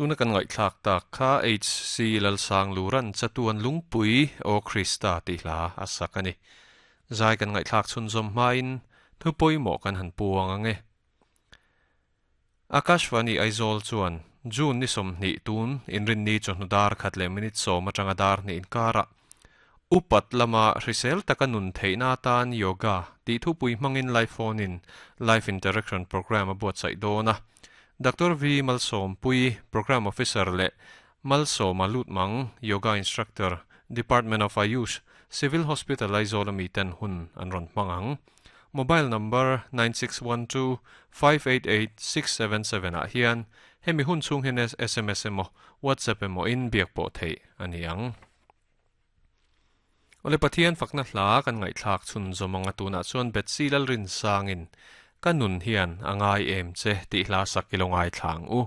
Tuna kan ngaihthlak tak kha HC Lalsangluran chatuan lungpui Aw Krista tih hla a sak a ni. Zai kan ngaihthlak chhunzawm hmain thu pawimawh kan han puang ang e. Akashvani Aizawl chuan June ni 20 tun inrinni chawhnu dar khat leh minute 10 atanga dar hnih inkarah upat lama hrisel taka nun theihna atan yoga tih thupui hmangin live phone in live interaction program a buatsaih dawn a. Doctor V Malsawmpui, Program Officer leh Malsawma Lutmang, Yoga Instructor, Department of Ayush, Civil Hospital Aizawl ami ten hun an rawn hmang ang. Mobile number 9612588677 ah hian hemi hun chhung hian SMS emaw WhatsApp emaw in biak pawh theih a ni ang. Awle Pathian fakna hla kan ngaihthlak chhun zawm anga tunah chuan Betsy Lalrinsangin ka nun hian a ngai em che tih hla sak i lo ngaithla ang u.